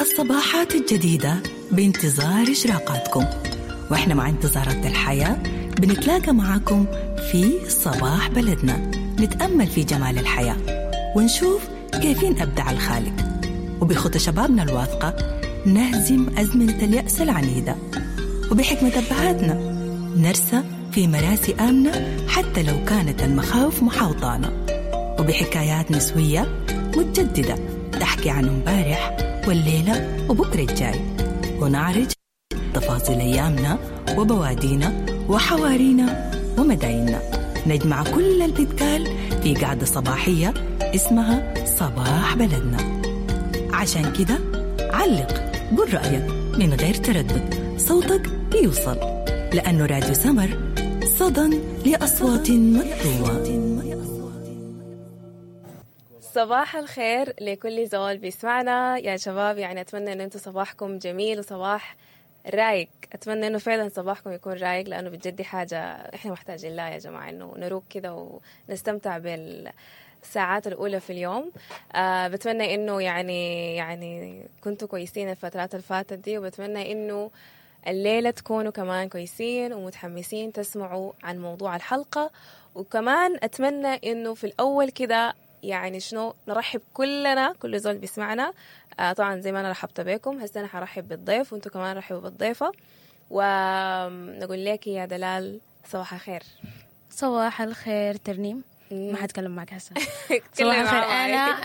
الصباحات الجديدة بانتظار إشراقاتكم، وإحنا مع انتظارات الحياة بنتلاقى معاكم في صباح بلدنا، نتأمل في جمال الحياة ونشوف كيفين أبدع الخالق، وبخطى شبابنا الواثقة نهزم أزمنة اليأس العنيدة، وبحكمة أبهاتنا نرسى في مراسي آمنة حتى لو كانت المخاوف محاوطانا، وبحكايات نسوية متجددة تحكي عن امبارح والليلة وبكرة الجاي، ونعرج تفاصيل أيامنا وبوادينا وحوارينا ومدايننا. نجمع كل البتقال في قعدة صباحية اسمها صباح بلدنا. عشان كده علق، قول رأيك من غير تردد، صوتك بيوصل، لأنه راديو سمر صدى لأصوات مكتومة. صباح الخير لكل زول بيسمعنا يا شباب. يعني أتمنى أن أنتم صباحكم جميل وصباح رايق. أتمنى أنه فعلا صباحكم يكون رايق، لأنه بجد دي حاجة إحنا محتاجين لها يا جماعة، أنه نروق كده ونستمتع بالساعات الأولى في اليوم. بتمنى أنه يعني كنتوا كويسين الفترات اللي فاتت دي، وبتمنى أنه الليلة تكونوا كمان كويسين ومتحمسين تسمعوا عن موضوع الحلقة. وكمان أتمنى أنه في الأول كده يعني شنو نرحب كلنا، كل زول بيسمعنا. طبعا زي ما أنا رحبت بكم، هسه أنا حرحب بالضيف وانتوا كمان رحبوا بالضيفة، ونقول لك يا دلال صباح الخير. صباح الخير ترنيم، ما حتكلم معك هسه. صباح الخير.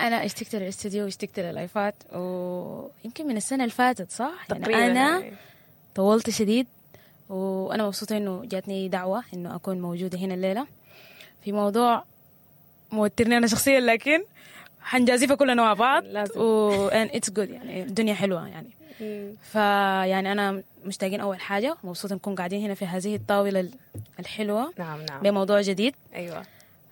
أنا اشتقت للاستوديو واشتقت للايفات، ويمكن من السنة اللي فاتت صح؟ تقريبا يعني أنا طولت شديد، وأنا مبسوطة إنه جاتني دعوة إنه أكون موجودة هنا الليلة في موضوع موترني أنا شخصيا، لكن حنجازفها كلنا مع بعض و and it's good، يعني الدنيا حلوة يعني. فيعني أنا مشتاقين أول حاجة، مبسوطة نكون قاعدين هنا في هذه الطاولة الحلوة. نعم نعم، بموضوع جديد. أيوة،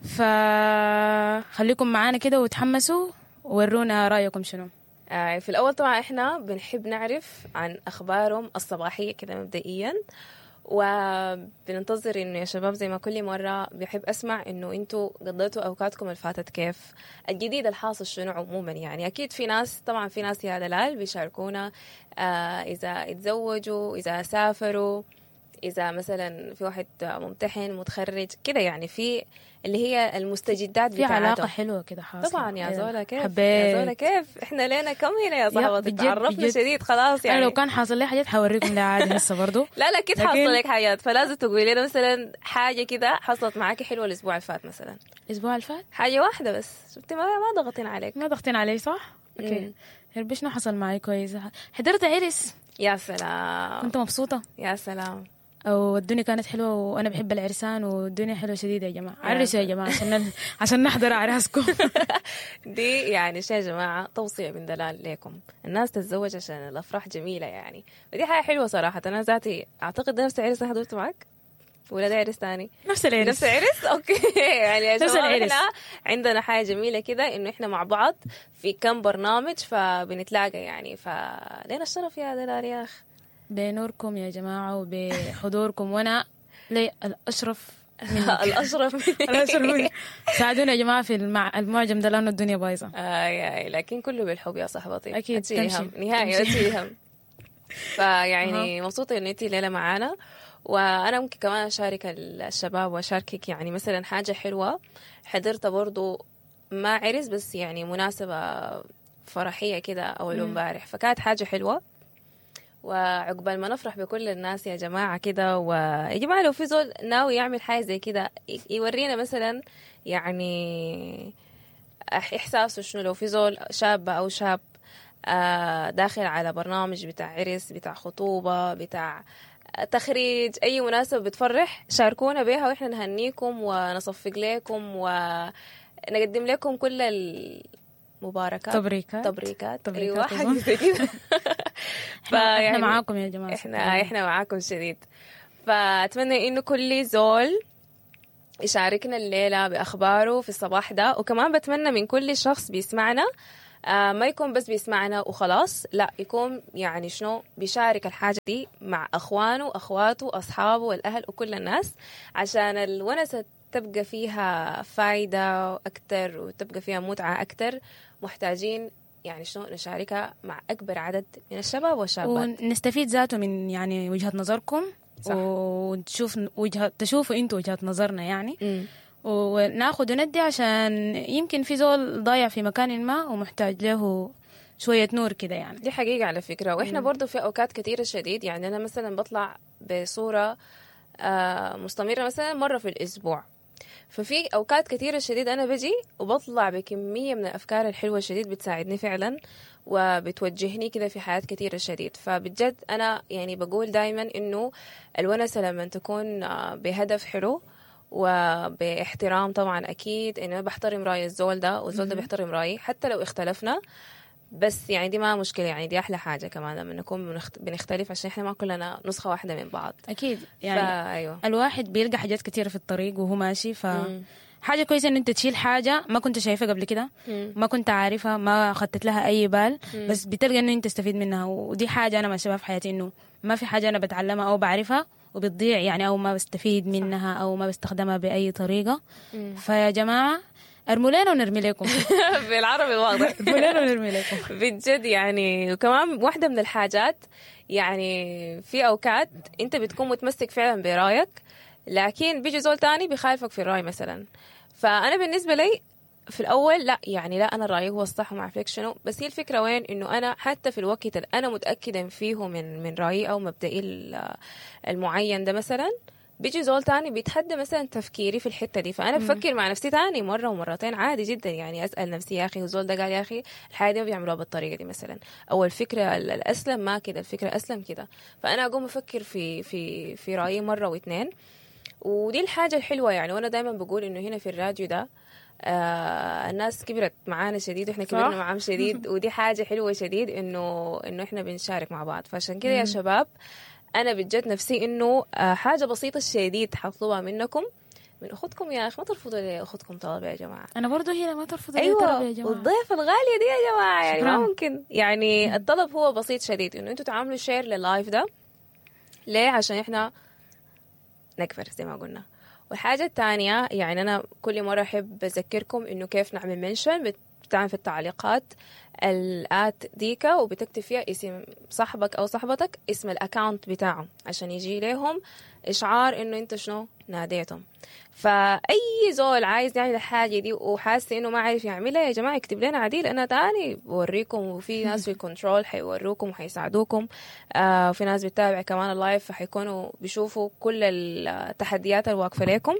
فخليكم معانا كده وتحمسوا وورونا رأيكم شنو. في الأول طبعا إحنا بنحب نعرف عن أخبارهم الصباحية كده مبدئيا، وبننتظر إنه يا شباب زي ما كل مرة بحب أسمع إنه أنتوا قضيتوا أوقاتكم اللي فاتت كيف، الجديد الحاصل شنو عموما. يعني أكيد في ناس، طبعا في ناس يا دلال بيشاركونا إذا اتزوجوا، إذا سافروا، إذا مثلا في واحد ممتحن متخرج كده، يعني في اللي هي المستجدات في بتاعتهم. علاقة حلوة كده حاصلة. طبعا يا زولا كيف، حبيت. يا زولا كيف، احنا لنا كم هنا يا صاحبتي، تعرفنا شديد خلاص يعني. أنا لو كان حاصل لي حاجات حوريكم لها عادي هسه برضو. لا لا أكيد حاصل لك حاجات، فلازم تقولي لنا مثلا حاجة كده حصلت معاكي حلوة الأسبوع اللي فات مثلا. الأسبوع اللي فات حاجة واحدة بس، شفتي ما ضغطين عليك. ما ضغطين علي صح؟ okay. شنو حصل معي كويس؟ حضرت عرس. يا سلام، كنت مبسوطة. يا سلام، والدنيا كانت حلوة، وأنا بحب العرسان، والدنيا حلوة شديدة يا جماعة. عرسوا يا جماعة عشان نحضر أعراسكم. دي يعني شيء يا جماعة توصية من دلال لكم، الناس تتزوج عشان الأفراح جميلة يعني، ودي حاجة حلوة صراحة. أنا ذاتي أعتقد نفس العرس أنا حضرته معك ولا ده عرس تاني؟ نفس العرس. نفس العرس، okay. يعني يا جماعة إحنا عندنا حاجة جميلة كده إنه إحنا مع بعض في كم برنامج فبنتلاقى يعني، فلينا الشرف يا دلال يا أخ. بنوركم يا جماعة وبحضوركم، وأنا لي الأشرف منك. الأشرف منك. الأشرف منك. ساعدونا يا جماعة في المعجم ده لأنه الدنيا بايظة. لكن كله بالحب يا صاحبتي. أكيد تمشي نهائي أتشيلي هم. فيعني مبسوطة إن أنتي ليلة معانا، وأنا ممكن كمان أشارك الشباب وأشاركك يعني مثلا حاجة حلوة حضرتها برضو، ما عرس بس يعني مناسبة فرحية كده أول امبارح، فكانت حاجة حلوة. وعقبال ما نفرح بكل الناس يا جماعة كده. ويا جماعة لو في زول ناوي يعمل حاجة زي كده يورينا مثلا يعني إحساسه شنو. لو في زول شابة أو شاب داخل على برنامج بتاع عرس، بتاع خطوبة، بتاع تخريج، أي مناسبة بتفرح، شاركونا بيها وإحنا نهنيكم ونصفق لكم ونقدم لكم كل المباركات، تبريكات. تبريكات. أيوة حاجة زي كده. احنا معاكم يا جماعة، احنا معاكم شديد. فأتمنى إنه كل زول يشاركنا الليلة بأخباره في الصباح ده، وكمان بتمنى من كل شخص بيسمعنا ما يكون بس بيسمعنا وخلاص، لا يكون يعني شنو بيشارك الحاجة دي مع أخوانه أخواته أصحابه والأهل وكل الناس، عشان الونسة تبقى فيها فايدة أكتر وتبقى فيها متعة أكتر. محتاجين يعني شنو نشاركها مع اكبر عدد من الشباب والشابات. ونستفيد ذاته من يعني وجهة نظركم. صح. ونشوف وجهة، تشوفوا انتوا وجهة نظرنا يعني. مم. وناخد وندي، عشان يمكن في زول ضايع في مكان ما ومحتاج له شوية نور كده يعني. دي حقيقة على فكرة. وإحنا برضو في أوقات كثيرة شديد، يعني أنا مثلا بطلع بصورة مستمرة مثلا مرة في الأسبوع، ففي أوقات كثيرة شديد أنا بجي وبطلع بكمية من الأفكار الحلوة شديد بتساعدني فعلا وبتوجهني كده في حياة كثيرة شديد. فبجد أنا يعني بقول دايما إنه الونسة لما تكون بهدف حلو وباحترام طبعا، أكيد إنه أنا بحترم رأي الزول ده والزول ده بيحترم رأيي حتى لو اختلفنا، بس يعني دي ما مشكلة، يعني دي أحلى حاجة كمان لما نكون بنختلف، عشان إحنا ما كلنا نسخة واحدة من بعض. أكيد يعني. أيوة. الواحد بيلقى حاجات كتيرة في الطريق وهو ماشي، ف حاجة كويسة إن أنت تشيل حاجة ما كنت شايفها قبل كده، ما كنت عارفها، ما خطت لها أي بال، بس بتلقى إنه أنت تستفيد منها. ودي حاجة أنا ماشية في حياتي، إنه ما في حاجة أنا بتعلمها أو بعرفها وبتضيع يعني، أو ما بستفيد منها أو ما بستخدمها بأي طريقة. فيا جماعة ارموا لنا ونرمي لكم. بالعربي الواضح. ارموا لنا ونرمي لكم. بجد يعني. وكمان واحدة من الحاجات، يعني في أوقات أنت بتكون متمسك فعلا برايك، لكن بيجي زول تاني بيخالفك في الرأي مثلا. فأنا بالنسبة لي في الأول لا، يعني لا أنا رأيي هو الصح وما أعرف لك شنو، بس هي الفكرة وين، إنه أنا حتى في الوقت اللي أنا متأكدة فيه من رأيي أو مبدئي المعين ده مثلا، بيجي زول تاني بيتحدى مثلا تفكيري في الحتة دي، فأنا بفكر مع نفسي تاني مرة ومرتين عادي جدا. يعني أسأل نفسي يا أخي وزول ده قال يا أخي الحاجة دي ما بيعملوها بالطريقة دي مثلا، أو الفكرة الأسلم ما كده، الفكرة أسلم كده، فأنا أقوم أفكر في في في رأيي مرة واثنين. ودي الحاجة الحلوة يعني. وأنا دايما بقول إنه هنا في الراديو ده الناس كبرت معانا شديد، واحنا كبرنا معاهم شديد، ودي حاجة حلوة شديد إنه إحنا بنشارك مع بعض. فعشان كده يا شباب أنا بجد نفسي إنه حاجة بسيطة شديد حطلبها منكم، من أختكم يا أخي، ما ترفضوا لي أختكم طلب يا جماعة. أنا برضو هنا ما ترفضوا لي طلب يا جماعة. والضيف الغالية دي يا جماعة يعني ما ممكن. يعني الطلب هو بسيط شديد، إنه أنتوا تعملوا share لل live ده. ليه؟ عشان إحنا نكبر زي ما قلنا. والحاجة الثانية يعني أنا كل مرة أحب أذكركم إنه كيف نعمل mention، بتعمل في التعليقات ال at ديكا وبتكتب فيها اسم صاحبك أو صاحبتك، اسم ال account بتاعه، عشان يجي لهم إشعار إنه أنت شنو ناديتهم. فأي زول عايز يعمل الحاجة دي وحاسس إنه ما عارف يعملها يا جماعة اكتب لنا عديل، أنا تاني بوريكم، وفي ناس في ال control حيوروكم وحيساعدوكم. في ناس بتتابع كمان ال live، فحيكونوا بيشوفوا كل التحديات الواقفة لكم.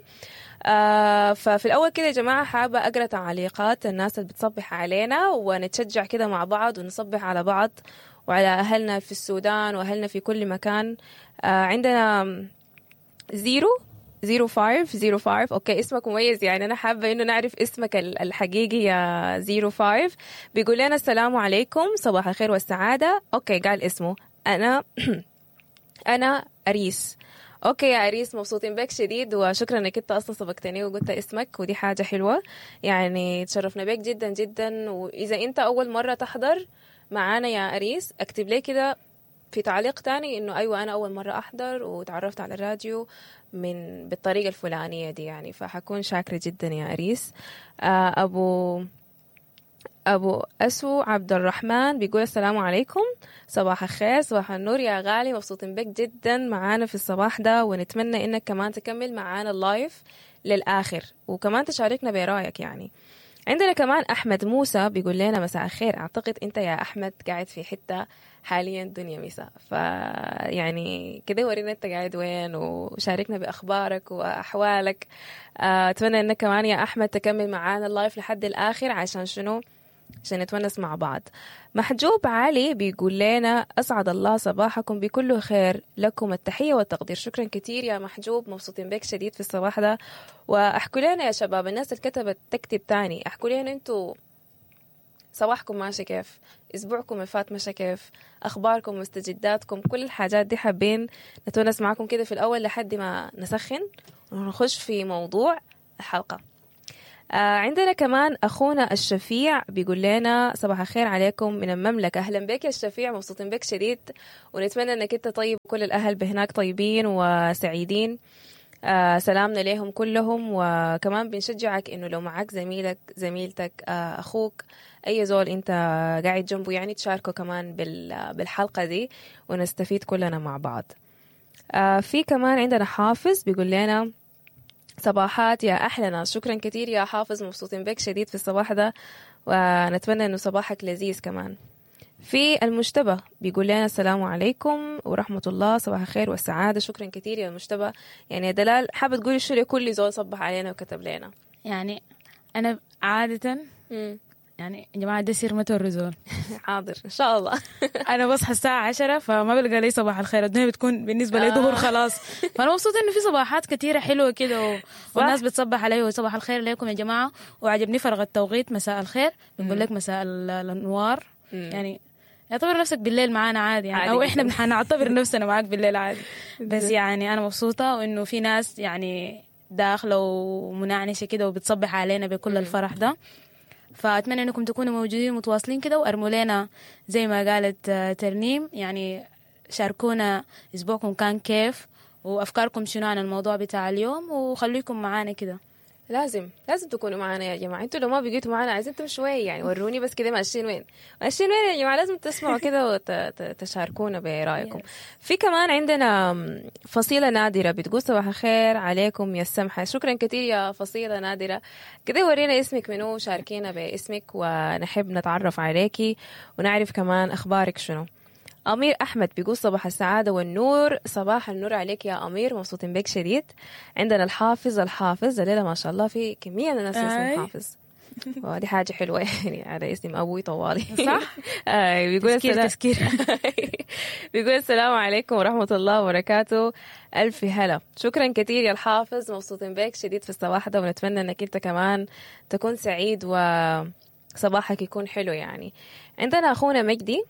ففي الأول كده يا جماعة حابة أقرأ تعليقات الناس اللي بتصبح علينا، ونتشجع كده مع بعض ونصبح على بعض وعلى أهلنا في السودان وأهلنا في كل مكان. عندنا 00505، okay اسمك مميز، يعني أنا حابة إنه نعرف اسمك الحقيقي يا 05. بيقول لنا السلام عليكم، صباح الخير والسعادة. okay قال اسمه، أنا أريس. okay يا أريس، مبسوطين بك شديد، وشكرا انك انت اصلا سبقتني وقلت اسمك، ودي حاجة حلوة يعني، تشرفنا بك جدا جدا. واذا انت اول مرة تحضر معانا يا أريس، اكتب لي كده في تعليق تاني انه ايوه انا اول مرة احضر وتعرفت على الراديو من بالطريقة الفلانية دي يعني، فحكون شاكرة جدا يا أريس. أبو أسو عبد الرحمن بيقول السلام عليكم، صباح الخير، صباح النور يا غالي، مبسوطين بك جدا معانا في الصباح ده، ونتمنى إنك كمان تكمل معانا ال live للآخر وكمان تشاركنا برأيك يعني. عندنا كمان أحمد موسى بيقول لنا مساء الخير. أعتقد أنت يا أحمد قاعد في حتة حاليا دنيا مساء، فيعني كده ورينا أنت قاعد وين وشاركنا بأخبارك وأحوالك. أتمنى أنك كمان يا أحمد تكمل معانا ال live لحد الآخر، عشان شنو؟ عشان نتونس مع بعض. محجوب علي بيقول لنا أسعد الله صباحكم بكل خير، لكم التحية والتقدير. شكرا كثير يا محجوب، مبسوطين بك شديد في الصباح ده. وأحكوا لنا يا شباب، الناس اللي كتبت تكتب تاني، أحكوا لنا أنتوا صباحكم ماشي كيف، أسبوعكم اللي فات ماشي كيف، أخباركم مستجداتكم، كل الحاجات دي حابين نتونس معكم كده في الأول لحد ما نسخن ونخش في موضوع الحلقة. عندنا كمان أخونا الشفيع بيقول لنا صباح الخير عليكم من المملكة. أهلا بك يا الشفيع، مبسوطين بك شديد، ونتمنى أنك أنت طيب وكل الأهل بهناك طيبين وسعيدين. سلامنا لهم كلهم. وكمان بنشجعك انه لو معك زميلك، زميلتك، اخوك، اي زول انت قاعد جنبه يعني تشاركه كمان بالحلقة دي ونستفيد كلنا مع بعض. في كمان عندنا حافظ بيقول لنا صباحات يا أحلى ناس. شكرا كثير يا حافظ، مبسوطين بك شديد في الصباح ده، ونتمنى إنه صباحك لذيذ كمان. في المجتبى بيقول لنا السلام عليكم ورحمة الله، صباح الخير والسعادة. شكرا كثير يا المجتبى. يعني يا دلال، حابة تقولي شو لكل زول صبح علينا وكتب لنا؟ يعني انا عادة يعني يا جماعة ده سر ما توروا زول. حاضر إن شاء الله. انا بصحى الساعة 10 فما بلقى لي صباح الخير، الدنيا بتكون بالنسبة لي ظهر خلاص. فانا مبسوطة انه في صباحات كثيرة حلوة كده والناس بتصبح علي وصباح الخير لكم يا جماعة. وعجبني فرق التوقيت، مساء الخير بنقول لك مساء الانوار. يعني اعتبر نفسك بالليل معانا عادي يعني، عادي او احنا جداً. حنعتبر نفسنا معاك بالليل عادي. بس يعني انا مبسوطة وانه في ناس يعني داخله ومنعنشه كده وبتصبح علينا بكل الفرح ده. فاتمنى انكم تكونوا موجودين متواصلين كده، وارموا لنا زي ما قالت ترنيم، يعني شاركونا اسبوعكم كان كيف وافكاركم شنو عن الموضوع بتاع اليوم، وخليكم معانا كده. لازم لازم تكونوا معنا يا جماعة. انتوا لو ما بقيتوا معنا عايزين تمشوا وين يعني؟ وروني بس كده ماشيين وين، ماشيين وين يا جماعة؟ لازم تسمعوا كده وتشاركونا برأيكم. في كمان عندنا فصيلة نادرة بتقول صباح الخير عليكم يا السمحة. شكرا كثير يا فصيلة نادرة. كده ورينا اسمك منو، شاركينا باسمك ونحب نتعرف عليكي ونعرف كمان أخبارك شنو. أمير أحمد بيقول صباح السعادة والنور. صباح النور عليك يا أمير، مبسوطين بك شديد. عندنا الحافظ، الحافظ الليلة ما شاء الله في كمية من الناس اسمهم حافظ، ودي حاجة حلوة يعني على اسم أبوي طوالي. صح؟ بيقول تذكير السلام تذكير. بيقول السلام عليكم ورحمة الله وبركاته، ألف هلا. شكرا كثير يا الحافظ، مبسوطين بك شديد في الصباح ده، ونتمنى أنك أنت كمان تكون سعيد وصباحك يكون حلو يعني. عندنا أخونا مجدي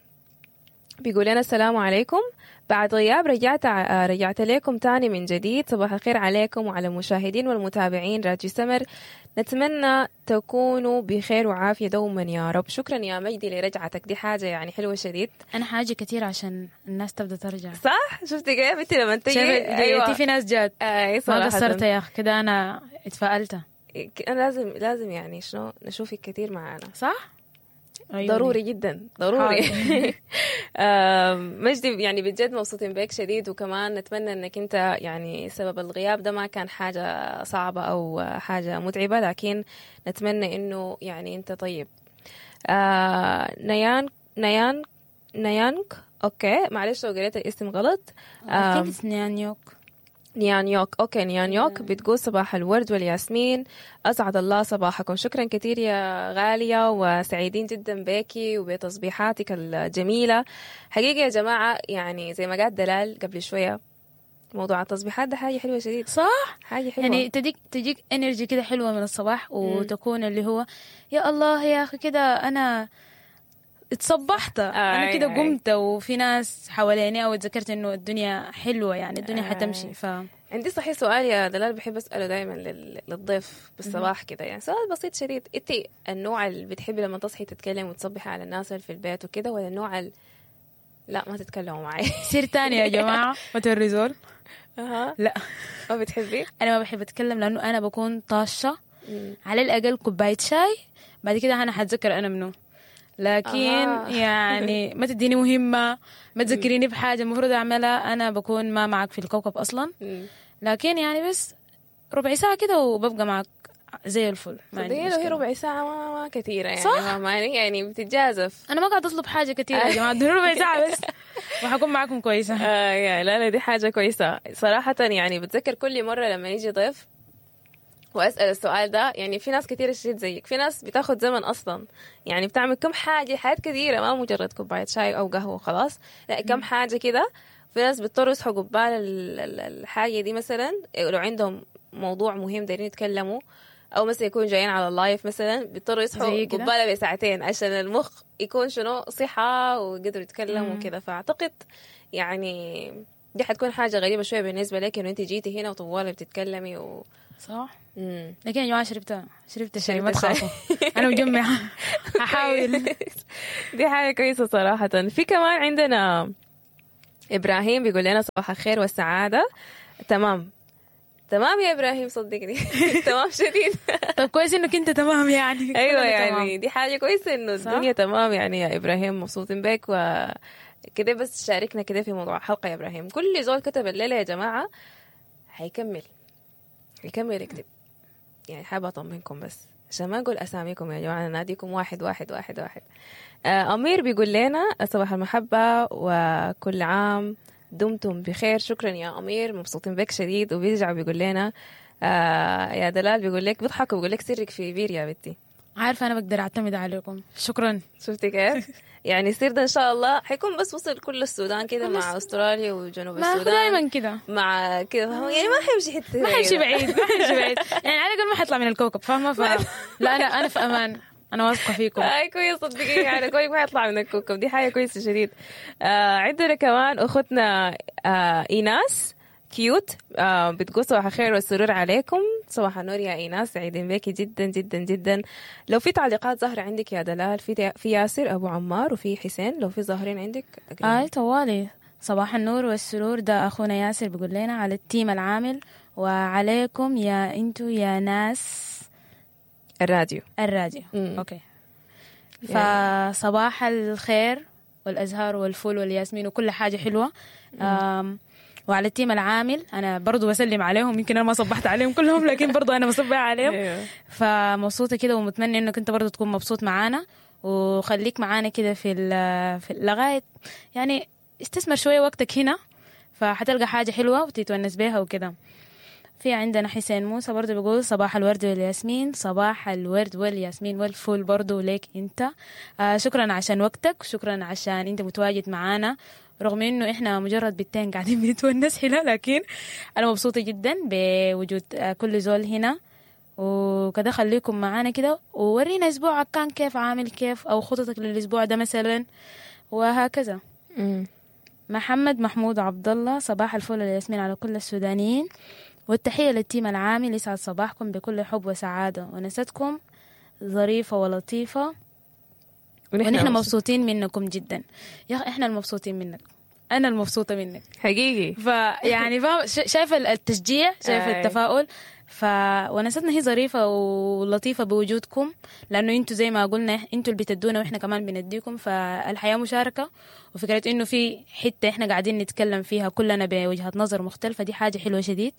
بيقول لنا السلام عليكم، بعد غياب رجعت لكم تاني من جديد. صباح الخير عليكم وعلى المشاهدين والمتابعين راجي سمر، نتمنى تكونوا بخير وعافية دوما يا رب. شكرا يا مجدي لرجعتك، دي حاجة يعني حلوة شديد. انا حاجة كثير عشان الناس تبدا ترجع. صح؟ شفتي كيف انت لما تيجي؟ ايوه في ناس جات. اي ما صراحة قصرت يا اخي كده، انا اتفائلت. انا لازم يعني شنو نشوفك كثير معانا. صح؟ عيوني. ضروري جدا ضروري. مجدي يعني بجد مبسوطين بك شديد، وكمان نتمنى انك انت يعني سبب الغياب ده ما كان حاجة صعبة او حاجة متعبة، لكن نتمنى انه يعني انت طيب. نيان نيان نيانك، okay معلش لو قريت الاسم غلط. I think it's نيانيوك. نيانيوك، okay نيانيوك. بتقول صباح الورد والياسمين، اسعد الله صباحكم. شكرا كثير يا غالية، وسعيدين جدا بيكي وبتصبيحاتك الجميلة. حقيقة يا جماعة يعني زي ما قالت دلال قبل شوية، موضوع التصبيحات ده حاجة حلوة شديد. صح؟ حاجة حلوة يعني تجيك energy كده حلوة من الصباح، وتكون اللي هو يا الله يا اخي كده انا اتصبحت، انا كده قمت وفي ناس حواليني، او اتذكرت انه الدنيا حلوة يعني الدنيا حتمشي. عندي صحيح سؤال يا دلال بحب اساله دائما للضيف بالصباح كده، يعني سؤال بسيط شديد. انت النوع اللي بتحبي لما تصحي تتكلم وتصبحي على الناس اللي في البيت وكده، ولا النوع اللي لا ما تتكلموا معي؟ سير تاني يا جماعة ما توري زول. لا ما بتحبي؟ انا ما بحب اتكلم لانه انا بكون طاشه. على الاقل كوباية شاي بعد كده انا حتذكر انا منو، لكن يعني ما تديني مهمة، ما تذكريني بحاجة المفروض أعملها، أنا بكون ما معك في الكوكب أصلا. لكن يعني بس ربع ساعة كده وببقى معك زي الفل. ما عندي صدقيني لو هي مشكلة. ربع ساعة ما كثيرة يعني. صح؟ ما يعني بتتجازف. أنا ما قاعدة أطلب حاجة كثيرة يا جماعة، ادوني ربع ساعة بس وحكون معكم كويسة. يا لا لا دي حاجة كويسة صراحة. يعني بتذكر كل مرة لما يجي ضيف وأسأل السؤال ده، يعني في ناس كثيرة شديد زيك، في ناس بتاخد زمن أصلا، يعني بتعمل كم حاجة، حاجات كثيرة، ما مجرد كوباية شاي أو قهوة وخلاص، لا كم حاجة كده. في ناس بيضطروا يصحوا قبال الحاجة دي مثلا، لو عندهم موضوع مهم دايرين يتكلموا، أو مثلا يكونوا جايين على ال live مثلا، بيضطروا يصحوا زي كده؟ قبالها بساعتين عشان المخ يكون شنو صحة وقدروا يتكلموا وكده. فأعتقد يعني دي حتكون حاجة غريبة شوية بالنسبة لك إنه أنت جيتي هنا وطوالي بتتكلمي صح؟ مم. لكن يا جماعة شربت شاي، ما شربت شاي. تخافوا أنا مجمعة هحاول. دي حاجة كويسة صراحة. في كمان عندنا إبراهيم بيقول لنا صباح الخير والسعادة. تمام. تمام يا ابراهيم، صدقني تمام شديد. طب كويس انك انت تمام يعني. ايوه كلنا يعني تمام. دي حاجة كويسة انه صح؟ الدنيا تمام يعني يا ابراهيم، مبسوطين بك وكده. بس شاركنا كده في موضوع الحلقة يا ابراهيم. كل زول كتب الليلة يا جماعة حيكمل، حيكمل يكتب يعني. حابة اطمنكم بس عشان ما نقول اساميكم يا جماعة، ناديكم واحد واحد واحد واحد. امير بيقول لنا صباح المحبة وكل عام دمتم بخير. شكرا يا امير، مبسوطين بك شديد. وبيرجع بيقول لنا يا دلال، بيقول لك بيضحك وبيقول لك سرك في بير يا بنتي. عارفه انا بقدر اعتمد عليكم، شكرا. شفتي كيف؟ يعني السير ده ان شاء الله حيكون بس وصل كل السودان كده كل مع استراليا وجنوب ما هو السودان دايما كده، مع كده، فاهمة؟ يعني ما حيمشي حتة ما حيمشي كده. بعيد، ما حيمشي بعيد يعني، على الاقل ما حيطلع من الكوكب، فاهمه؟ لا انا في امان، انا واثقة فيكم. هاي كويس، صدقيني يعني كويس ما يطلع من الكوكب، دي حاجة كويسة شديد. عندنا كمان اختنا ايناس cute، بتقول صباح الخير والسرور عليكم. صباح النور يا ايناس، سعيدين بك جدا جدا جدا. لو في تعليقات ظاهره عندك يا دلال، في ياسر ابو عمار وفي حسين، لو في ظاهرين عندك أقريهم. اي طوالي. صباح النور والسرور، ده اخونا ياسر بيقول لنا على ال team العامل وعليكم يا انتو يا ناس الراديو. الراديو. Okay. فصباح الخير والازهار والفل والياسمين وكل حاجة حلوة. وعلى ال team العامل انا برضو بسلم عليهم، يمكن انا ما صبحت عليهم كلهم لكن برضو انا بصبح عليهم. فمبسوطه كده ومتمنى انك انت برضو تكون مبسوط معانا، وخليك معانا كده في لغاية يعني استثمر شوية وقتك هنا، فحتلقى حاجة حلوة وتتونس بيها وكده. في عندنا حسين موسى برضو بيقول صباح الورد والياسمين. صباح الورد والياسمين والفل برضو ليك انت. شكرا عشان وقتك، شكرا عشان انت متواجد معانا، رغم انه احنا مجرد بنتين قاعدين بنتونس هنا، لكن انا مبسوطة جدا بوجود كل زول هنا وكده. خليكم معانا كده وورينا اسبوعك كان كيف، عامل كيف، او خططك للاسبوع ده مثلا وهكذا. محمد محمود عبد الله، صباح الفل والياسمين على كل السودانيين، والتحية لل team العامل، يسعد صباحكم بكل حب وسعادة، ونستكم ظريفة ولطيفة، ونحن مبسوطين منكم جدا. يا أخي احنا المبسوطين منك، أنا المبسوطة منك حقيقي. فيعني فاهم، شايفة التشجيع، شايفة التفاؤل. ونستنا هي ظريفة ولطيفة بوجودكم، لأنه انتوا زي ما قلنا انتوا اللي بتدونا وإحنا كمان بنديكم، فالحياة مشاركة. وفكرة إنه في حتة إحنا قاعدين نتكلم فيها كلنا بوجهة نظر مختلفة، دي حاجة حلوة شديد.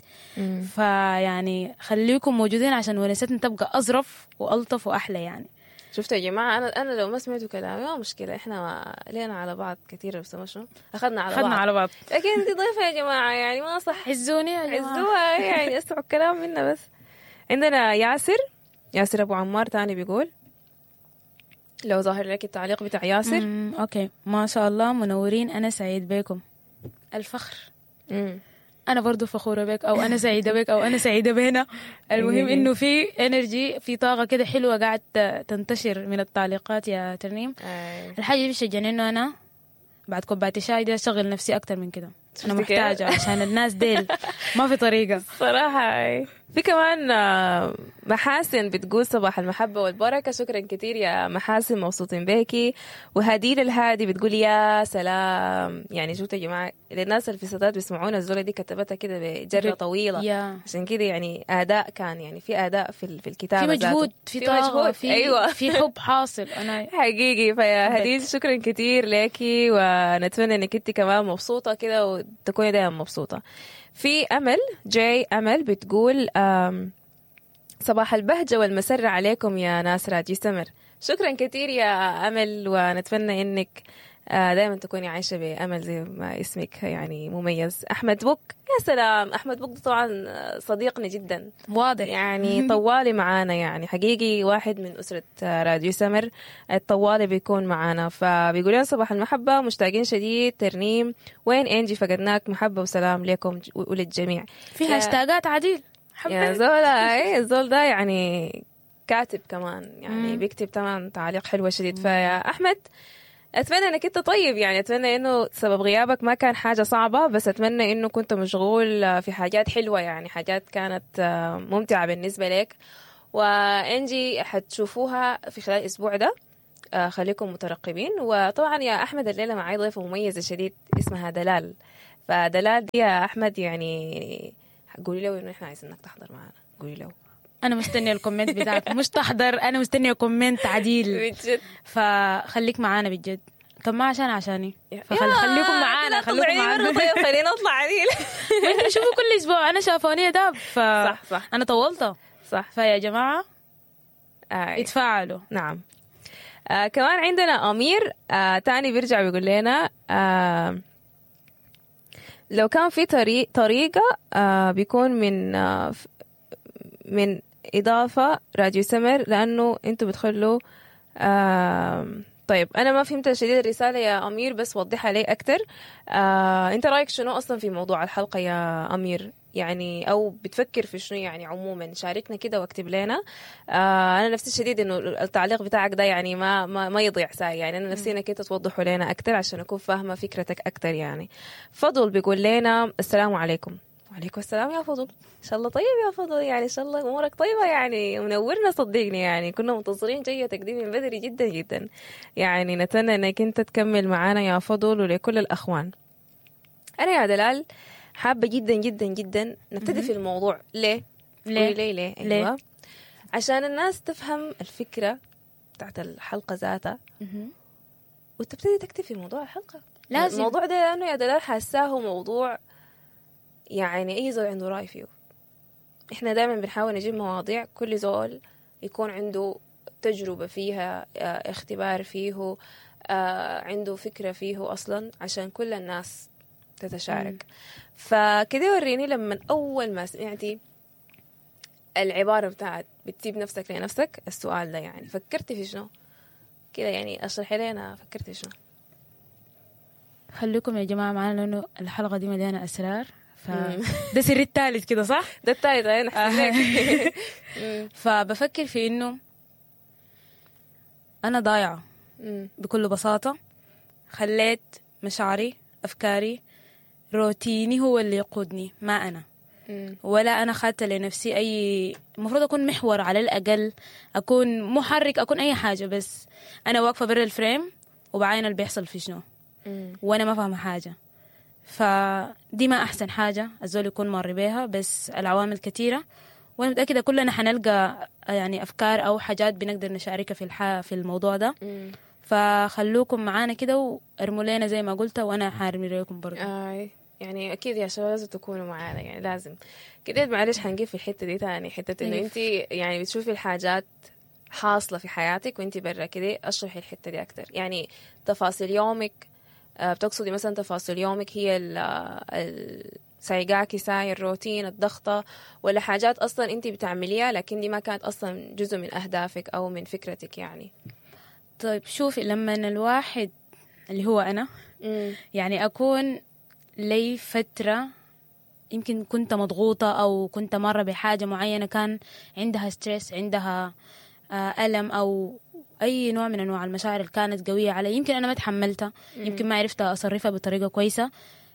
فيعني خليكم موجودين عشان ونستنا تبقى أظرف وألطف وأحلى يعني. شفتوا يا جماعة، أنا لو ما سمعتوا كلامي ما مشكلة، إحنا ما لينا على بعض كثير، بس ما شنو أخذنا على أخذنا بعض على بعض، لكن أنت ضيفة يا جماعة، يعني ما صح. عزوني يا جماعة، عزوها يعني، اسمعوا الكلام منا بس. عندنا ياسر أبو عمار تاني بيقول، لو ظاهر لك التعليق بتاع ياسر. okay، ما شاء الله منورين، أنا سعيد بكم. الفخر. أنا برضو فخورة بك، أو أنا سعيدة بك، أو أنا سعيدة بهنا. المهم إنه في energy، في طاقة كده حلوة قاعد تنتشر من التعليقات يا ترنيم. الحاجة دي بتشجعني إنه أنا بعد كوباية الشاي دي أشغل نفسي أكتر من كده. أنا شفتي كيف؟ محتاجة عشان الناس ديل ما في طريقة. صراحة أي. في كمان محاسن بتقول صباح المحبة والبركة. شكرا كثير يا محاسن، مبسوطين بيكي. وهديل الهادي بتقول يا سلام. يعني شفتوا يا جماعة، للناس اللي في الستات بيسمعونا، الزولة دي كتبتها كده بجرة طويلة، يا عشان كده يعني أداء كان، يعني في أداء في الكتابة في مجهود، ذاته. في طاقة، مجهود. في أيوة. في حب حاصل. أنا حقيقي. فيا حبيت. هديل شكرا كثير ليكي، ونتمنى انك انت كمان مبسوطة كده وتكوني دائما مبسوطة. في امل جاي، امل بتقول صباح البهجة والمسرة عليكم يا ناس راديو سمر. شكرا كثير يا امل، ونتمنى انك دائما تكوني عايشه بامل زي ما اسمك يعني مميز. احمد بوك، يا سلام، احمد بوك ده طبعا صديقنا جدا، واضح يعني طوالي معانا، يعني حقيقي واحد من أسرة راديو سمر، الطوالي بيكون معانا. فبيقول لنا صباح المحبة، مشتاقين شديد، ترنيم وين إنجي، فقدناك، محبة وسلام لكم وللجميع. في يا- هاشتاجات عديل. يا حبيت. زولا، أي الزول ده يعني كاتب كمان، يعني بيكتب طبعا تعليق حلوة شديد. فيا أحمد أتمنى أنك أنت طيب، يعني أتمنى أنه سبب غيابك ما كان حاجة صعبة، بس أتمنى أنه كنت مشغول في حاجات حلوة، يعني حاجات كانت ممتعة بالنسبة لك. وإنجي حتشوفوها في خلال الأسبوع ده، خليكم مترقبين. وطبعا يا أحمد الليلة معي ضيفة مميزة شديد اسمها دلال. فدلال دي يا أحمد يعني قولي له انه احنا عايزينك تحضر معانا، قولي له. انا مستنيه ال comment بتاعك، مش تحضر، انا مستنيه comment عديل. بجد. فخليك معانا بجد، كم ما عشان عشاني، فخليكم معانا، خليكم معانا. طيب خلينا نطلع عديل. انتوا شوفوا كل اسبوع انا شافوني ده، ف صح صح انا طولت. صح. فيا جماعة اتفاعلوا. نعم. كمان عندنا أمير تاني بيرجع بيقول لنا لو كان في طريقة بيكون من من إضافة راديو سمر، لأنه أنتوا بتخلوا طيب أنا ما فهمت شديد الرسالة يا أمير، بس وضحها لي أكتر. أنت رأيك شنو أصلا في موضوع الحلقة يا أمير؟ يعني أو بتفكر في شنو يعني عموما؟ شاركنا كده واكتب لنا. أنا نفسي شديد إنه التعليق بتاعك ده يعني ما ما, ما يضيع ساي، يعني أنا نفسي إنك أنت توضحه لنا أكتر عشان أكون فاهمة فكرتك أكتر يعني. فضل بيقول لنا السلام عليكم. وعليكم السلام يا فضل، إن شاء الله طيب يا فضل، يعني إن شاء الله أمورك طيبة يعني، منورنا صدقني، يعني كنا منتظرين جيتك دي من بدري جدا جدا، يعني نتمنى إنك أنت تكمل معانا يا فضل ولكل الأخوان. أنا يا دلال حابة جدا جدا جدا نبتدي في الموضوع. ليه؟ ليه؟ ليه؟ ليه؟ ليه؟ أيوة. عشان الناس تفهم الفكرة بتاعت الحلقة ذاتها وتبتدي تكتب في موضوع الحلقة. لازم. الموضوع ده لأنه يا دلال حاساه موضوع يعني أي زول عنده رأي فيه. إحنا دايما بنحاول نجيب مواضيع كل زول يكون عنده تجربة فيها، اختبار فيه، عنده فكرة فيه أصلا، عشان كل الناس تتشارك. فكده وريني لما أول ما سمعتي العبارة بتاعت بتسيب نفسك لنفسك، السؤال ده يعني فكرتي في شنو؟ كده يعني اشرحي لنا فكرتي في شنو. خليكم يا جماعة معانا لأنه الحلقة دي مليانة أسرار، ف ده سر الثالث كده صح؟ ده الثالث أنا أحسن لك. فبفكر في إنه أنا ضايعة بكل بساطة، خليت مشاعري، أفكاري، روتيني هو اللي يقودني، ما أنا. ولا أنا خدت لنفسي أي، المفروض أكون محور على الأقل، أكون محرك، أكون أي حاجة، بس أنا واقفة برا الفريم وبعاين اللي بيحصل في شنو، وأنا ما فاهمة حاجة. فدي ما أحسن حاجة الزول يكون مر بيها، بس العوامل كثيرة، وأنا متأكدة كلنا حنلقى يعني أفكار أو حاجات بنقدر نشاركها في الموضوع ده. فخلوكم معانا كده وارموا لنا زي ما قلت، وأنا حارمي لكم برضه. يعني أكيد يا شباب لازم تكونوا معانا، يعني لازم كده. معلش حنجيب في الحتة دي تاني، حتة إنه أنت يعني بتشوفي الحاجات حاصلة في حياتك وأنت برا كده، أشرحي الحتة دي أكتر. يعني تفاصيل يومك، بتقصدي مثلا تفاصيل يومك هي سايقاكي ساي الروتين، الضغطة، ولا حاجات أصلا أنت بتعمليها لكن دي ما كانت أصلا جزء من أهدافك أو من فكرتك يعني؟ طيب شوفي، لما الواحد اللي هو أنا يعني أكون لي فترة يمكن كنت مضغوطة أو كنت مرة بحاجة معينة كان عندها stress، عندها ألم أو أي نوع من أنواع المشاعر اللي كانت قوية علي، يمكن أنا ما تحملتها، يمكن ما عرفت أصرفها بطريقة كويسة.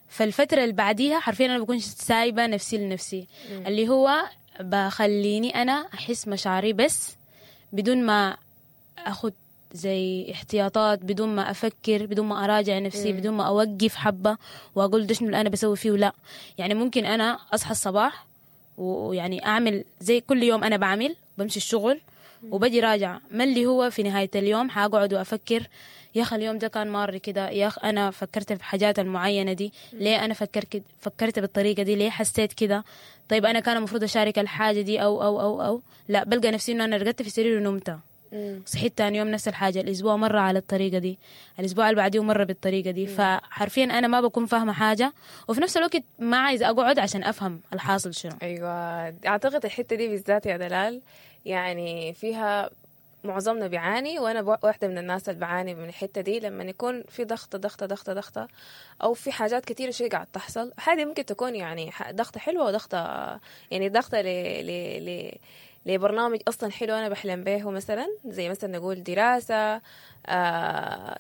فالفترة اللي بعديها حرفيا أنا بكون سايبة نفسي لنفسي، اللي هو بخليني أنا أحس مشاعري بس بدون ما أخد زي احتياطات، بدون ما أفكر، بدون ما أراجع نفسي، بدون ما أوقف حبة وأقول ده شنو اللي أنا بسوي فيه. ولا يعني ممكن أنا أصحى الصباح ويعني أعمل زي كل يوم أنا بعمل، بمشي الشغل وبجي راجع، ما اللي هو في نهاية اليوم حقعد وأفكر يا أخي اليوم ده كان مار كده، يا أخي أنا فكرت في حاجات المعينة دي، ليه أنا فكرت بالطريقة دي، ليه حسيت كده، طيب أنا كان المفروض أشارك الحاجة دي أو أو أو أو لا، بلقى نفسي إنه أنا رقدت في سرير ونمت، صحيت تاني يوم نفس الحاجة، الأسبوع مرة على الطريقة دي، الأسبوع اللي بعديه مرة بالطريقة دي. فحرفيا أنا ما بكون فاهمة حاجة، وفي نفس الوقت ما عايزة أقعد عشان أفهم الحاصل شنو. أيوة، أعتقد الحتة دي بالذات يا دلال يعني فيها معظمنا بيعاني، وأنا واحدة من الناس اللي بعاني من الحتة دي. لما يكون في ضغط ضغط ضغط ضغط أو في حاجات كتيرة شيء قاعد تحصل، هذه ممكن تكون يعني ضغطة حلوة وضغطة يعني ضغطة ل ل لبرنامج أصلا حلو أنا بحلم به، مثلا زي مثلا نقول دراسة،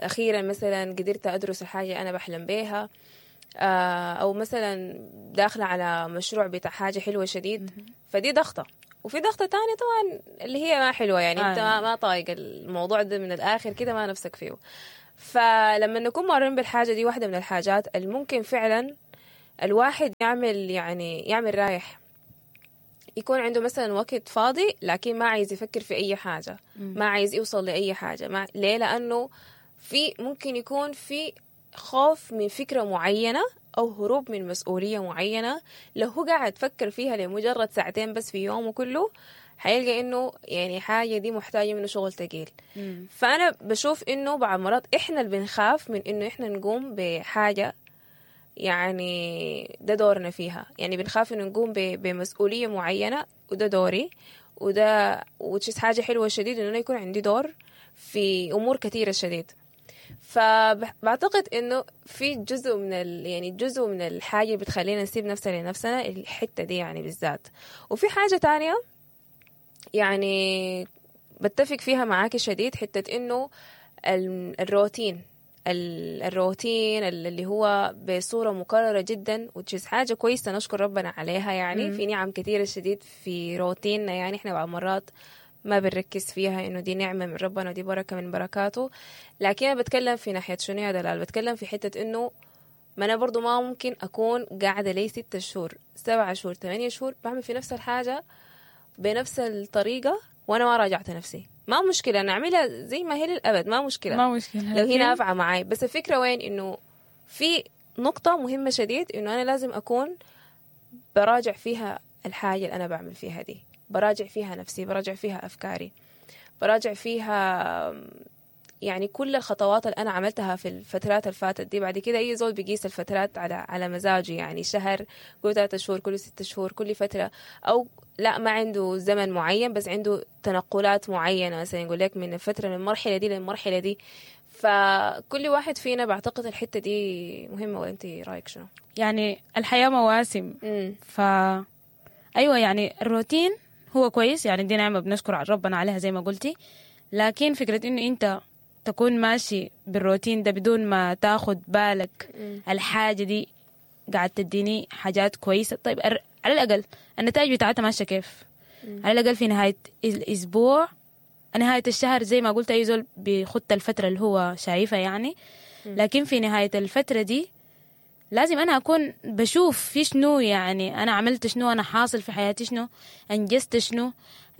أخيرا مثلا قدرت أدرس الحاجة أنا بحلم بيها، أو مثلا داخلة على مشروع بتاع حاجة حلوة شديد، فدي ضغطة. وفي ضغطة تانية طبعا اللي هي ما حلوة، يعني أنت ما طايق الموضوع ده من الآخر كده، ما نفسك فيه. فلما نكون مارين بالحاجة دي، واحدة من الحاجات اللي ممكن فعلا الواحد يعمل يعني يعمل رايح. يكون عنده مثلا وقت فاضي لكن ما عايز يفكر في اي حاجة، ما عايز يوصل لاي حاجة. ما ليه؟ لانه في ممكن يكون في خوف من فكرة معينة او هروب من مسؤولية معينة. لو هو قاعد فكر فيها لمجرد ساعتين بس في يومه كله، حيلقى انه يعني حاجة دي محتاجه منه شغل ثقيل. فانا بشوف انه بعض مرات احنا اللي بنخاف من انه احنا نقوم بحاجة يعني ده دورنا فيها، يعني بنخاف انه نقوم بمسؤولية معينة، وده دوري، وده which is حاجة حلوة شديد انه أنا يكون عندي دور في امور كثيرة شديد. فبعتقد انه في جزء من يعني جزء من الحاجة اللي بتخلينا نسيب نفسنا لنفسنا الحتة دي يعني بالذات. وفي حاجة تانية يعني بتفق فيها معاكي شديد، حتة انه الروتين، الروتين اللي هو بصورة مكررة جدا، which is حاجة كويسة نشكر ربنا عليها يعني. في نعم كثيرة شديد في روتيننا، يعني احنا بعض مرات ما بنركز فيها انه دي نعمة من ربنا ودي بركة من بركاته. لكن انا بتكلم في ناحية شنو يا دلال؟ بتكلم في حتة انه ما انا برضو ما ممكن اكون قاعدة لي 6 شهور، 7 شهور، 8 شهور بعمل في نفس الحاجة بنفس الطريقة وانا ما راجعت نفسي. ما مشكلة انا اعملها زي ما هي للابد، ما مشكلة، ما مشكلة لو هي نافعة معي. بس الفكرة وين؟ انه في نقطة مهمة شديد انه انا لازم اكون براجع فيها الحاجة اللي انا بعمل فيها دي، براجع فيها نفسي، براجع فيها افكاري، براجع فيها يعني كل الخطوات اللي انا عملتها في الفترات اللي فاتت دي. بعد كده اي زول بيقيس الفترات على مزاجه، يعني شهر، كل 3 شهور، كل 6 شهور، كل فتره، او لا ما عنده زمن معين بس عنده تنقلات معينه، مثلا يقول لك من الفترة من المرحلة دي للمرحلة دي. فكل واحد فينا بعتقد الحتة دي مهمه. وانت رايك شنو؟ يعني الحياة مواسم. ايوه، يعني الروتين هو كويس، يعني دي نعمه بنشكر على ربنا عليها زي ما قلتي. لكن فكرة انه انت تكون ماشي بالروتين ده بدون ما تاخد بالك الحاجة دي قاعد تديني حاجات كويسة، طيب على الأقل النتائج بتاعتها ماشية كيف؟ على الأقل في نهاية الأسبوع، نهاية الشهر، زي ما قلت أي زول بيخط الفترة اللي هو شايفها يعني. لكن في نهاية الفترة دي لازم أنا أكون بشوف في شنو، يعني أنا عملت شنو، أنا حاصل في حياتي شنو، أنجزت شنو،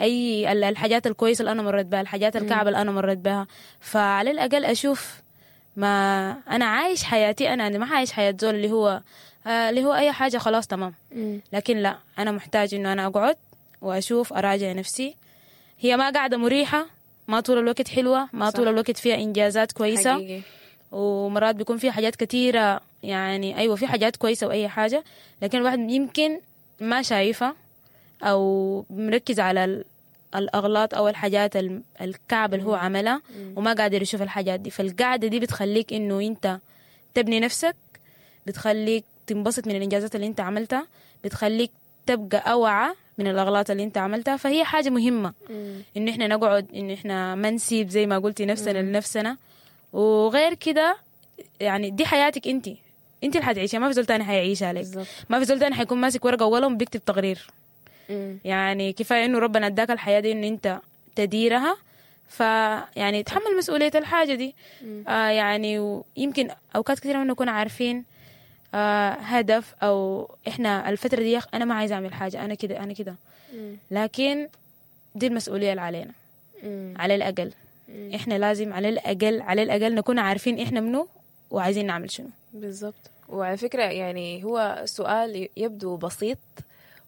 أي الحاجات الكويسة اللي أنا مريت بها، الحاجات الكعبة اللي أنا مريت بها. فعلى الأقل أشوف ما أنا عايش حياتي، أنا ما عايش حياة زول اللي هو أي حاجة خلاص تمام. لكن لا، أنا محتاج إنه أنا أقعد وأشوف، أراجع نفسي. هي ما قاعدة مريحة، ما طول الوقت حلوة، ما طول الوقت فيها إنجازات كويسة. ومرات بيكون في حاجات كتيرة، يعني أيوة في حاجات كويسة وأي حاجة، لكن الواحد يمكن ما شايفها أو مركز على الأغلاط أو الحاجات الكعبة اللي هو عملها وما قادر يشوف الحاجات دي. فالقعدة دي بتخليك إنه أنت تبني نفسك، بتخليك تنبسط من الإنجازات اللي أنت عملتها، بتخليك تبقى أوعى من الأغلاط اللي أنت عملتها. فهي حاجة مهمة إنه إحنا نقعد، إنه إحنا ما نسيب زي ما قلتي نفسنا لنفسنا. وغير كده يعني دي حياتك انت، انت اللي حتعيشها، ما في زول تاني حيعيشها لك. ما في زول تاني حيكون ماسك ورقة وقلم بيكتب تقرير. يعني كفاية انه ربنا اداك الحياة دي انه انت تديرها، فيعني تحمل مسؤولية الحاجة دي. يعني ويمكن اوقات كثيرة ما نكون عارفين هدف او احنا الفترة دي انا ما عايزه اعمل حاجه، انا كده انا كده. لكن دي المسؤولية اللي علينا. على الاقل احنا لازم على الاقل نكون عارفين احنا منو وعايزين نعمل شنو. بالضبط. وعلى فكرة يعني هو سؤال يبدو بسيط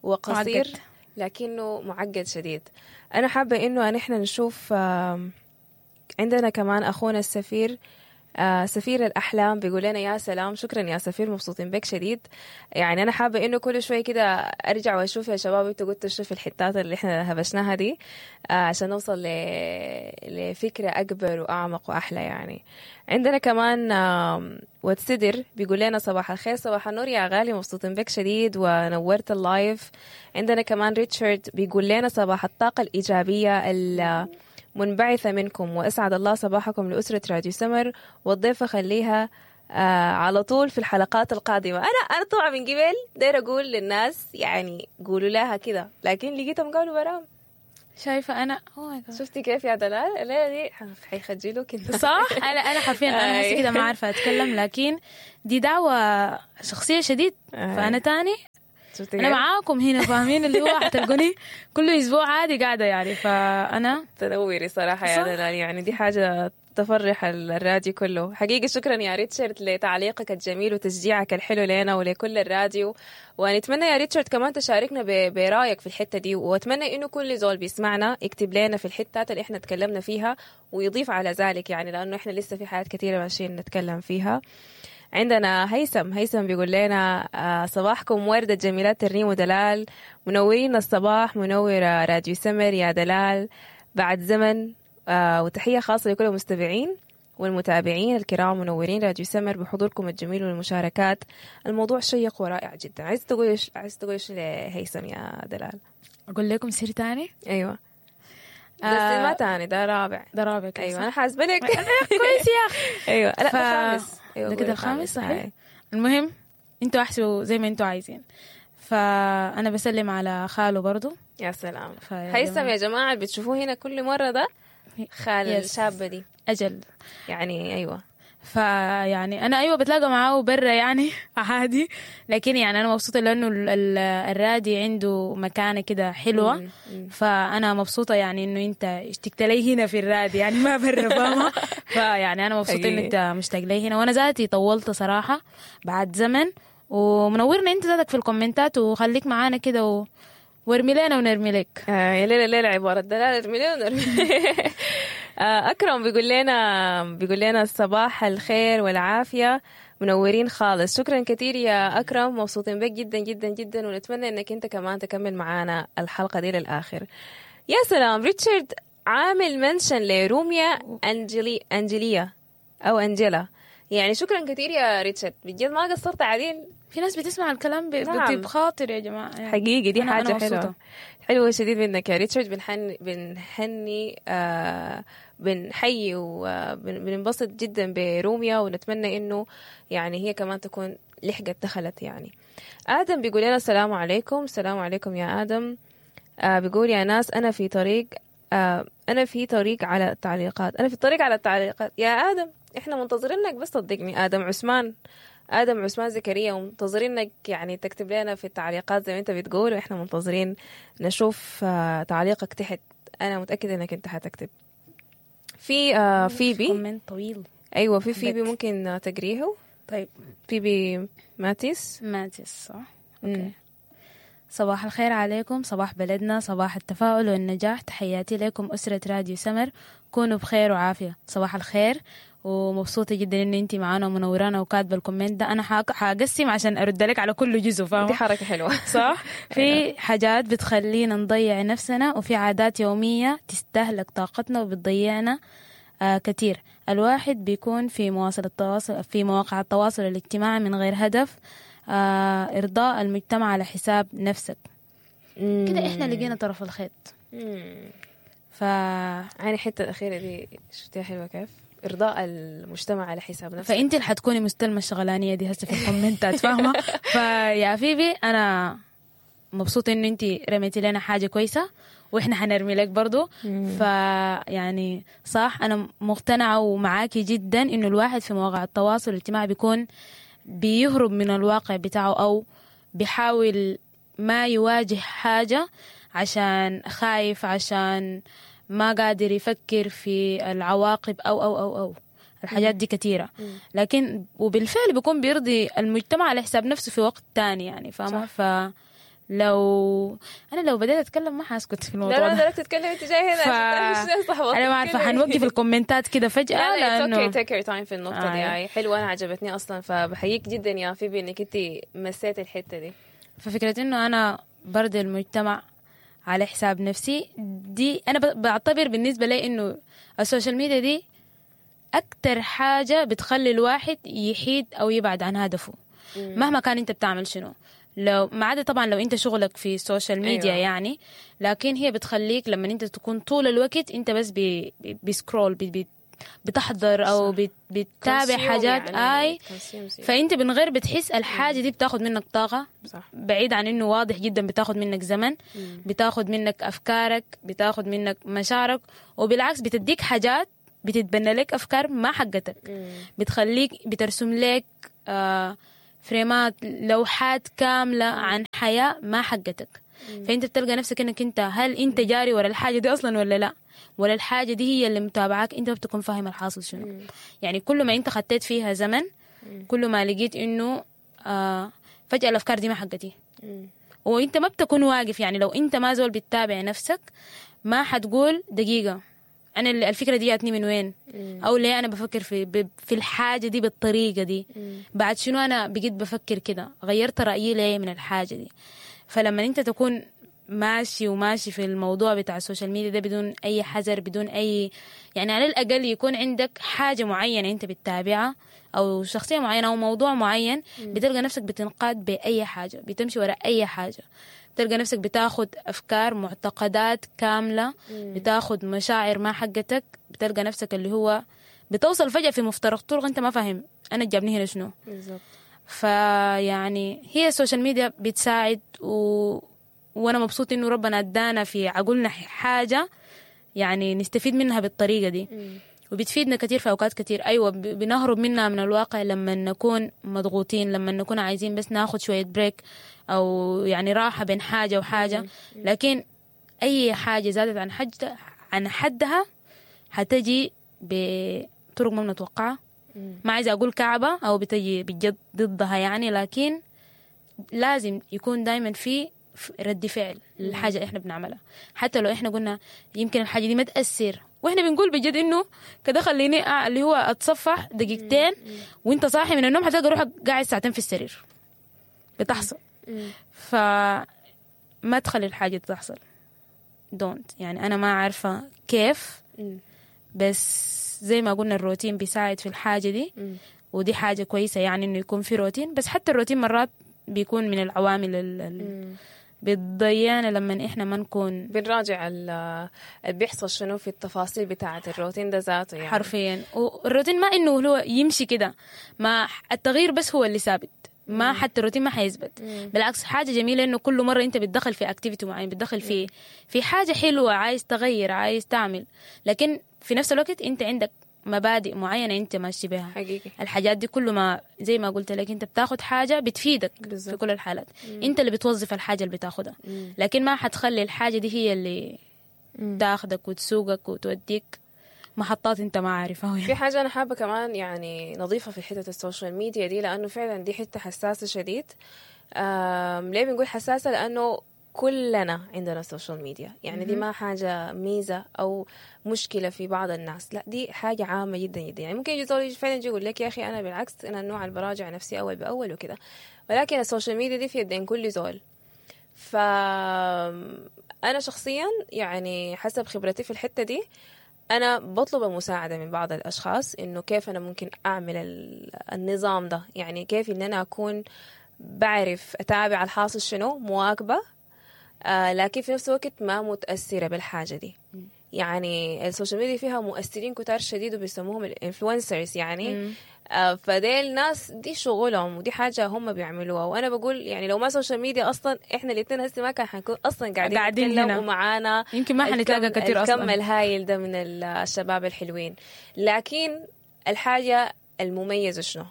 وقصير معقد. لكنه معقد شديد. أنا حابة إنه نحن نشوف عندنا كمان أخونا السفير سفير الأحلام بيقول لنا يا سلام، شكرا يا سفير، مبسوطين بك شديد. يعني أنا حابة إنه كل شوي كده أرجع وأشوف يا شباب أنتوا قلتوا شو في الحتات اللي إحنا هبشناها دي عشان نوصل لفكرة أكبر وأعمق وأحلى. يعني عندنا كمان واتسدر بيقول لنا صباح الخير. صباح النور يا غالي، مبسوطين بك شديد ونورت ال live. عندنا كمان ريتشارد بيقول لنا صباح الطاقة الإيجابية المنبعثة منكم، وأسعد الله صباحكم لأسرة راديو سمر، والضيفة خليها على طول في الحلقات القادمة. أنا طبعا من قبل داير أقول للناس يعني قولوا لها كده، لكن لقيتهم قالوا براهم. شايفه انا oh my God. شفتي كيف يا دلال؟ الليلة دي حيخجلوك الناس. صح، انا حرفيا انا هسه كده ما عارفه اتكلم، لكن دي دعوه شخصية شديد. فانا تاني شفتي انا كيف؟ معاكم هنا، فاهمين؟ اللي هو حتلقوني كل اسبوع عادي قاعدة يعني. فانا تنوري صراحة يا صح. دلال، يعني دي حاجة تفرح الراديو كله حقيقي. شكرا يا ريتشارد لتعليقك الجميل وتشجيعك الحلو لنا ولكل الراديو، ونتمنى يا ريتشارد كمان تشاركنا برايك في الحتة دي، واتمنى انه كل زول بيسمعنا يكتب لنا في الحتات اللي احنا تكلمنا فيها ويضيف على ذلك، يعني لانه احنا لسه في حاجات كثيرة ماشيين نتكلم فيها. عندنا هيثم، هيثم بيقول لنا صباحكم وردة جميلات ترنيم ودلال، منورين الصباح، منورة راديو سمر يا دلال بعد زمن، وتحية خاصة لكل المستمعين والمتابعين الكرام، منورين راديو سمر بحضوركم الجميل والمشاركات. الموضوع شيق ورائع جدا. عايز تقول عايز تقول ايش لهيثم يا دلال؟ اقول لكم سر تاني. ايوه بس ما تاني، ده رابع. ده رابع كده، ايوه صح؟ انا حاسبه لك. كويس يا اخي. ايوه لا ده خامس. ايوه ده قولي كده الخامس، صحيح. هاي. المهم انتوا احسبوا زي ما انتوا عايزين. فانا بسلم على خاله برضو. يا سلام. فيا هيثم جماعة. يا جماعة اللي بتشوفوه هنا كل مرة ده خال yes. الشابة دي اجل يعني. ايوه فيعني انا ايوه بتلاقى معاه برا يعني عادي، لكن يعني انا مبسوطة لانه الرادي عنده مكانه كده حلوة. فانا مبسوطة يعني انه انت اشتقت لي هنا في الرادي يعني ما برا، فاهمه؟ فيعني انا مبسوطة انه حقيقي. انت مشتاق لي هنا، وانا ذاتي طولت صراحة بعد زمن، ومنورنا انت ذاتك في الكومنتات، وخليك معانا كده وارمي لنا ونرمي لك. يا ليلى ليلى عبارة دلالة ارمي لنا ونرمي. أكرم بيقول لنا صباح الخير والعافية، منورين خالص. شكرا كثير يا أكرم، مبسوطين بك جدا جدا جدا، ونتمنى أنك أنت كمان تكمل معانا الحلقة دي للآخر. يا سلام، ريتشارد عامل mention لروميا أنجليا أو أنجيلا، يعني شكرا كثير يا ريتشارد، بجد ما قصرت عديل. في ناس بتسمع الكلام نعم. بطيب خاطر يا جماعة يعني. حقيقي دي أنا حاجة حلوة مبسوطة. حلوة شديد منك يا ريتشارد. بنحني بنحيي وبننبسط جدا بروميا، ونتمنى انه يعني هي كمان تكون لحقت دخلت يعني. آدم بيقول لنا السلام عليكم. السلام عليكم يا آدم. بيقول يا ناس أنا في طريق، أنا في طريق على التعليقات، أنا في الطريق على التعليقات يا آدم، إحنا منتظرينك بس صدقني. آدم عثمان، آدم عثمان زكريا، ومنتظرينك يعني تكتب لنا في التعليقات زي ما أنت بتقول، وإحنا منتظرين نشوف تعليقك تحت. أنا متأكدة إنك أنت حتكتب. في فيبي comment طويل. أيوة في فيبي بت. ممكن تقريه. طيب فيبي ماتيس. ماتيس صح؟ okay. صباح الخير عليكم، صباح بلدنا، صباح التفاؤل والنجاح. تحياتي لكم أسرة راديو سمر، كونوا بخير وعافية. صباح الخير، ومبسوطة جدا إن أنتي معانا ومنورانا وكاتبة ال comment ده. أنا حقسم عشان أرد لك على كل جزء، فاهمة؟ دي حركة حلوة. صح؟ في حاجات بتخلينا نضيع نفسنا، وفي عادات يومية تستهلك طاقتنا وبتضيعنا كتير. الواحد بيكون في مواصل التواصل في مواقع التواصل الاجتماعي من غير هدف، إرضاء المجتمع على حساب نفسك. كده إحنا لقينا طرف الخيط. يعني الحتة الأخيرة دي شفتيها حلوة كيف؟ إرضاء المجتمع على حساب نفسك. فأنت اللي حتكوني مستلمة الشغلانية دي هسه في الكومنتات، فاهمة؟ فيا فيبي أنا مبسوطة إنه أنت رميتي لنا حاجة كويسة، وإحنا حنرمي لك برضو. فيعني صح، أنا مقتنعة ومعاكي جدا إنه الواحد في مواقع التواصل الاجتماعي بيكون بيهرب من الواقع بتاعه، أو بيحاول ما يواجه حاجة عشان خايف، عشان ما قادر يفكر في العواقب أو أو أو أو الحاجات دي كثيرة. لكن وبالفعل بيكون بيرضي المجتمع على حساب نفسه في وقت تاني يعني، فاهمة؟ فلو أنا لو بدأت أتكلم ما حاسكت في الموضوع لا لا ده. لا تتكلم، أنت جاي هنا عشان تعرفي أنا ما عارفة حنوقف الكومنتات كده فجأة. لا لا okay، take your time في النقطة دي. حلوة، أنا عجبتني أصلا، فبحييك جدا يا فيبي إنك أنت مسيتي الحتة دي. ففكرة إنه أنا برضي المجتمع على حساب نفسي دي، أنا بعتبر بالنسبة لي إنه ال social media دي أكتر حاجة بتخلي الواحد يحيد أو يبعد عن هدفه. مهما كان أنت بتعمل شنو، لو ما عدا طبعا لو أنت شغلك في ال social media. أيوة. يعني لكن هي بتخليك لما أنت تكون طول الوقت أنت بس ب scroll، بتحضر أو بتتابع حاجات يعني أي، فأنت من غير بتحس الحاجة دي بتاخد منك طاقة. صح. بعيد عن إنه واضح جدا بتاخد منك زمن، بتاخد منك أفكارك، بتاخد منك مشاعرك، وبالعكس بتديك حاجات، بتتبنى لك أفكار ما حقتك. بتخليك بترسم لك فريمات، لوحات كاملة عن حاجة. حياة ما حقتك. فانت بتلقى نفسك انك انت هل انت جاري ورا الحاجة دي اصلا ولا لا، ولا الحاجة دي هي اللي متابعاك، انت ما بتكون فاهم الحاصل شنو. يعني كل ما انت خطيت فيها زمن، كل ما لقيت انه فجاة الافكار دي ما حقتي، وانت ما بتكون واقف. يعني لو انت ما زول بتتابع نفسك ما حتقول دقيقة انا الفكرة دي جاتني من وين، او ليه انا بفكر في الحاجة دي بالطريقة دي، بعد شنو انا بقيت بفكر كده، غيرت رايي ليه من الحاجة دي. فلما انت تكون ماشي وماشي في الموضوع بتاع ال social media ده بدون اي حذر، بدون اي يعني على الاقل يكون عندك حاجة معينة انت بتتابعها، او شخصية معينة، او موضوع معين، بتلقى نفسك بتنقاد باي حاجة، بتمشي وراء اي حاجة، بتلقى نفسك بتاخد افكار، معتقدات كاملة، بتاخد مشاعر ما حقتك، بتلقى نفسك اللي هو بتوصل فجاة في مفترق طرق انت ما فاهم انا جابني هنا شنو. بالظبط. فيعني هي ال social media بتساعد، وانا مبسوط انه ربنا ادانا في عقولنا حاجة يعني نستفيد منها بالطريقة دي، وبتفيدنا كتير في اوقات كتير. ايوه بنهرب منها من الواقع لما نكون مضغوطين، لما نكون عايزين بس ناخد شوية break او يعني راحة بين حاجة وحاجه، لكن اي حاجة زادت عن حدها حتجي بطرق ما بنتوقعها. ما عايزه اقول كعبه او بتجي بجد ضدها يعني، لكن لازم يكون دايما في رد فعل للحاجة اللي احنا بنعملها، حتى لو احنا قلنا يمكن الحاجة دي ما تاثر، واحنا بنقول بجد انه كده خليني اللي هو اتصفح دقيقتين، وانت صاحي من النوم حتلقى روحك قاعد ساعتين في السرير، بتحصل. فما تخلي الحاجة تحصل، don't. يعني انا ما عارفه كيف، بس زي ما قلنا الروتين بيساعد في الحاجة دي، ودي حاجة كويسة يعني انه يكون في روتين، بس حتى الروتين مرات بيكون من العوامل اللي بتضيعنا لما احنا ما نكون بنراجع اللي بيحصل شنو في التفاصيل بتاعة الروتين ده ذاته يعني. حرفيا. والروتين ما انه هو يمشي كده، ما التغيير بس هو اللي ثابت، ما حتى الروتين ما حيثبت. بالعكس حاجة جميلة انه كل مرة انت بتدخل في activity معين، بتدخل في حاجة حلوة، عايز تغير، عايز تعمل، لكن في نفس الوقت انت عندك مبادئ معينة انت ماشي بها. حقيقي. الحاجات دي كل ما زي ما قلت لك انت بتاخد حاجة بتفيدك. بالزبط. في كل الحالات. انت اللي بتوظف الحاجة اللي بتاخدها، لكن ما حتخلي الحاجة دي هي اللي تاخدك وتسوقك وتوديك محطات انت ما عارفها. في حاجة أنا حابة كمان يعني نضيفها في حتة ال social media دي، لأنه فعلا دي حتة حساسة شديد. ليه بنقول حساسة؟ لأنه كلنا عندنا social media، يعني دي ما حاجة ميزة أو مشكلة في بعض الناس، لا دي حاجة عامة جدا جدا. يعني ممكن يجي زول فعلا يجي يقول لك يا أخي أنا بالعكس أنا النوع اللي براجع نفسي أول بأول وكده، ولكن ال social media دي في يدين كل زول. فأنا شخصيا يعني حسب خبرتي في الحتة دي أنا بطلب المساعدة من بعض الأشخاص إنه كيف أنا ممكن أعمل النظام ده، يعني كيف إن أنا أكون بعرف أتابع الحاصل شنو، مواكبة، لكن في نفس الوقت ما متأثرة بالحاجة دي. يعني ال social media فيها مؤثرين كتار شديد وبيسموهم ال influencers يعني. فديل ناس دي شغلهم ودي حاجة هم بيعملوها، وأنا بقول يعني لو ما social media أصلا إحنا الاثنين هسه ما كان حنكون أصلا قاعدين هنا ومعانا، يمكن ما حنتلاقى كتير أصلا الكم الهايل ده من الشباب الحلوين. لكن الحاجة المميزة شنو؟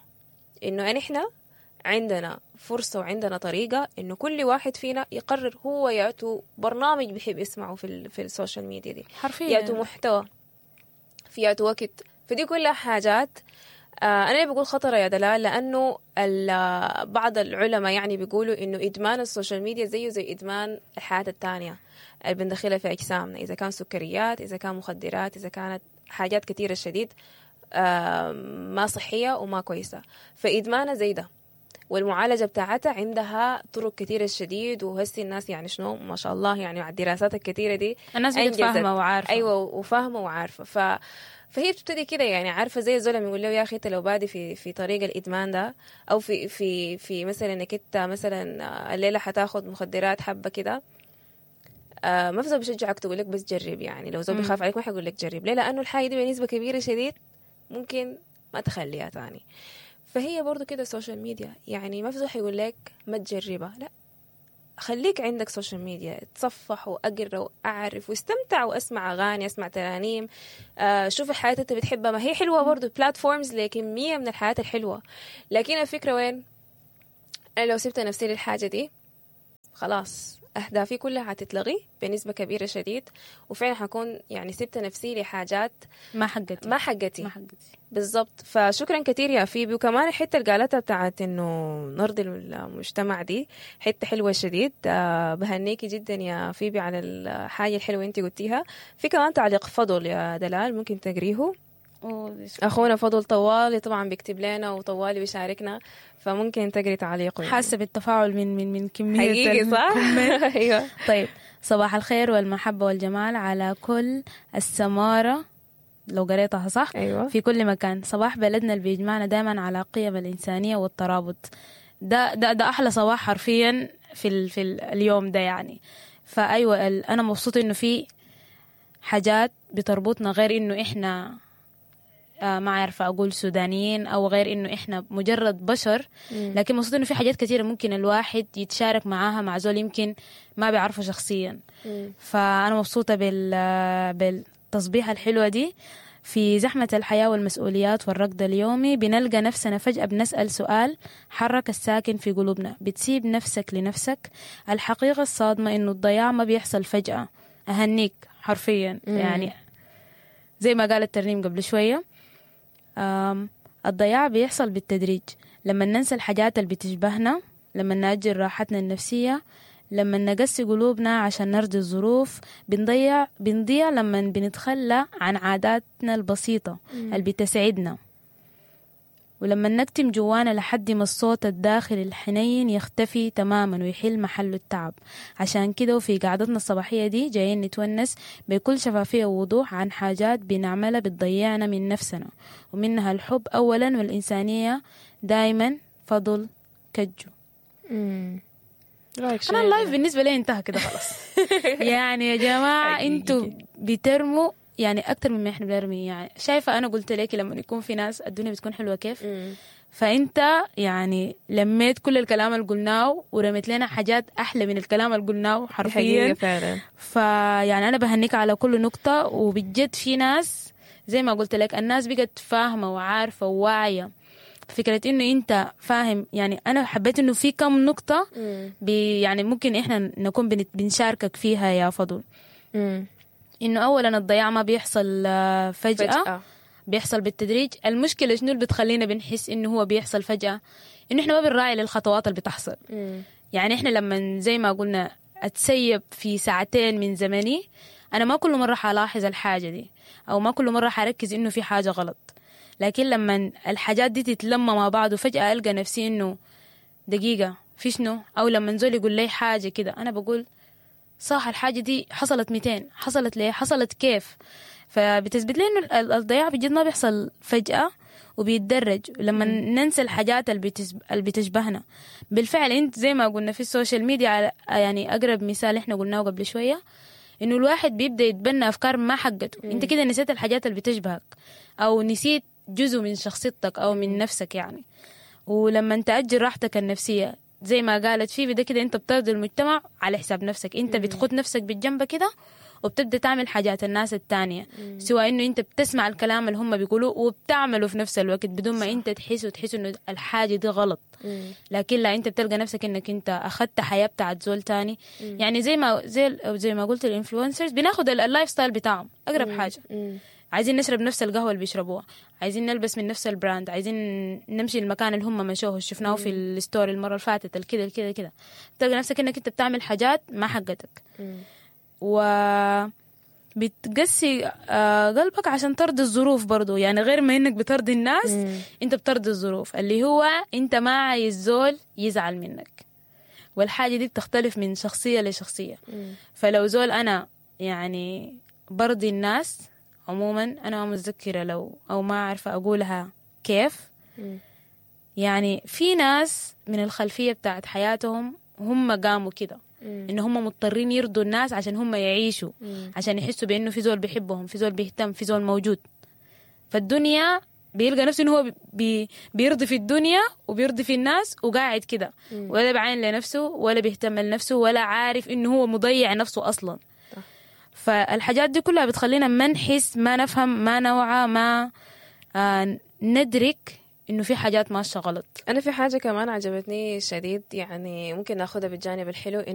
إنه إحنا عندنا فرصة وعندنا طريقة إنه كل واحد فينا يقرر هو يعطو برنامج بيحب يسمعه في ال social media دي، حرفيا يعطو محتوى في يعطو وقت. فدي كلها حاجات أنا بقول خطرة يا دلال، لأنه بعض العلماء يعني بيقولوا إنه إدمان ال social media زيه زي إدمان الحياة التانية اللي بندخلها في أجسامنا، إذا كان سكريات، إذا كان مخدرات، إذا كانت حاجات كثيرة شديد ما صحية وما كويسة. فإدمانها زي ده، والمعالجة بتاعتها عندها طرق كثيرة شديد. وهسي الناس يعني شنو ما شاء الله يعني مع الدراسات الكثيرة دي الناس بقت فاهمة وعارفة. أيوة وفاهمة وعارفة. فهي بتبتدي كده يعني، عارفة زي الزول لما يقول له يا أخي أنت لو بادي في طريق الإدمان ده، أو في في في مثلا إنك أنت مثلا الليلة حتاخد مخدرات حبة كده، ما في زول بيشجعك تقول لك بس جرب. يعني لو زول بيخاف عليك ما حيقول لك جرب. ليه؟ لأنه الحاجة دي بنسبة كبيرة شديد ممكن ما تخليها تاني. فهي برضو كده ال social media، يعني ما في زول حيقول لك ما تجربها، لا خليك عندك social media، تصفح واقرا واعرف واستمتع واسمع اغاني، اسمع ترانيم، شوف الحياة انت بتحبها، ما هي حلوة برضو platforms لكميه من الحياة الحلوة. لكن الفكرة وين؟ انا لو سبت نفسي للحاجة دي خلاص أهدافي كلها حتتلغي بنسبة كبيرة شديد، وفعلا حكون يعني سبت نفسي لحاجات ما حقتي، ما حقتي ما حقتي. بالضبط. فشكرا كثير يا فيبي. وكمان الحتة اللي قالتها بتاعت انه نرضي المجتمع دي حتة حلوة شديد. بهنيكي جدا يا فيبي على الحاجة الحلوة انت قلتيها. في كمان تعليق فضل يا دلال ممكن تقريه. اخونا فضل طوالي طبعا بيكتب لنا وطوالي بيشاركنا، فممكن تقري تعليقه. يعني حاسه بالتفاعل من كمية حقيقي صح؟ ايوه. طيب، صباح الخير والمحبة والجمال على كل السماره، لو قريتها صح. أيوة. في كل مكان. صباح بلدنا اللي بيجمعنا دائما على قيم الإنسانية والترابط. ده ده ده أحلى صباح حرفيا في اليوم ده يعني. فأيوة أنا مبسوطة إنه في حاجات بتربطنا، غير إنه إحنا ما عارفة أقول سودانيين أو غير إنه إحنا مجرد بشر، لكن مبسوطة إنه في حاجات كثيرة ممكن الواحد يتشارك معاها مع زول يمكن ما بيعرفه شخصيا. فأنا مبسوطة بالتصبيحة الحلوة دي. في زحمة الحياة والمسؤوليات والركض اليومي بنلقى نفسنا فجأة بنسأل سؤال حرك الساكن في قلوبنا، بتسيب نفسك لنفسك؟ الحقيقة الصادمة إنه الضياع ما بيحصل فجأة. أهنيك حرفيا. يعني زي ما قالت ترنيم قبل شوية، الضياع بيحصل بالتدريج، لما ننسى الحاجات اللي بتشبهنا، لما نأجل راحتنا النفسية، لما نقسي قلوبنا عشان نرضي الظروف، بنضيع لما بنتخلى عن عاداتنا البسيطة اللي بتسعدنا، ولما نكتم جوانا لحد ما الصوت الداخلي الحنين يختفي تماما ويحل محله التعب. عشان كده وفي قعدتنا الصباحية دي جايين نتونس بكل شفافية ووضوح عن حاجات بنعملها بتضيعنا من نفسنا، ومنها الحب أولا والإنسانية دايما. فضل كجو. انا ال live بالنسبة لي انتهى كده خلاص. يعني يا جماعة انتوا بترموا يعني اكتر مما احنا بنرمي. يعني شايفه انا قلت لك لما يكون في ناس الدنيا بتكون حلوة كيف. فانت يعني لميت كل الكلام اللي قلناه ورميت لنا حاجات احلى من الكلام اللي قلناه حرفيا. فعلا. فيعني انا بهنيك على كل نقطة، وبجد في ناس زي ما قلت لك الناس بقت فاهمه وعارفه وواعيه فكرة انه انت فاهم. يعني انا حبيت انه في كم نقطة يعني ممكن احنا نكون بنشاركك فيها يا فضل. انه اولا الضياع ما بيحصل فجأة. بيحصل بالتدريج. المشكلة شنو اللي بتخلينا بنحس انه هو بيحصل فجأة؟ انه احنا ما بنراعي للخطوات اللي بتحصل. يعني احنا لما زي ما قلنا اتسيب في ساعتين من زمني، انا ما كل مرة حلاحظ الحاجة دي، او ما كل مرة حركز انه في حاجة غلط. لكن لما الحاجات دي تتلم مع بعض وفجأة ألقى نفسي إنه دقيقة في شنو، أو لما زول يقول لي حاجة كده أنا بقول صح الحاجة دي حصلت 200، حصلت ليه، حصلت كيف. فبتثبت لي إنه الضياع بجد ما بيحصل فجأة وبيتدرج لما ننسى الحاجات اللي بتشبهنا. بالفعل أنت زي ما قلنا في ال social media، يعني أقرب مثال إحنا قلناه قبل شوية، إنه الواحد بيبدأ يتبنى أفكار ما حقته. أنت كده نسيت الحاجات اللي بتشبهك، أو نسيت جزء من شخصيتك أو من نفسك يعني. ولما تأجل راحتك النفسية زي ما قالت فيبي ده كده، أنت بترضي المجتمع على حساب نفسك. أنت بتخد نفسك بالجنب كده وبتبدأ تعمل حاجات الناس التانية، سواء إنه أنت بتسمع الكلام اللي هم بيقولوه وبتعمله في نفس الوقت بدون ما أنت تحس وتحس إنه الحاجة دي غلط. لكن لا، أنت بتلقى نفسك إنك أنت أخدت حياة بتاعت زول تاني. يعني زي ما قلت ال influencers بناخد ال lifestyle بتاعهم أقرب حاجة. عايزين نشرب نفس القهوة اللي بيشربوها، عايزين نلبس من نفس ال brand، عايزين نمشي المكان اللي هم مشوه شفناه في ال story المرة اللي فاتت، الكده الكده كده. تلقى نفسك انك انت بتعمل حاجات ما حقتك، و بتقسي قلبك عشان ترضي الظروف برضو. يعني غير ما انك بترضي الناس، انت بترضي الظروف، اللي هو انت ما عايز زول يزعل منك. والحاجة دي بتختلف من شخصية لشخصية. فلو زول انا يعني برضي الناس عموما، أنا ما متذكرة لو أو ما عارفة أقولها كيف. يعني في ناس من الخلفية بتاعت حياتهم هم قاموا كده، إن هم مضطرين يرضوا الناس عشان هم يعيشوا، عشان يحسوا بأنه في زول بيحبهم، في زول بيهتم، في زول موجود. فالدنيا بيلقى نفسه إنه هو بيرضي في الدنيا وبيرضي في الناس وقاعد كده، ولا بعين لنفسه ولا بيهتم لنفسه ولا عارف إنه هو مضيع نفسه أصلا. فالحاجات دي كلها بتخلينا ما نحس، ما نفهم، ما نوعى، ما ندرك إنه في حاجات ماشية غلط. أنا في حاجة كمان عجبتني شديد، يعني ممكن ناخدها بالجانب الحلو.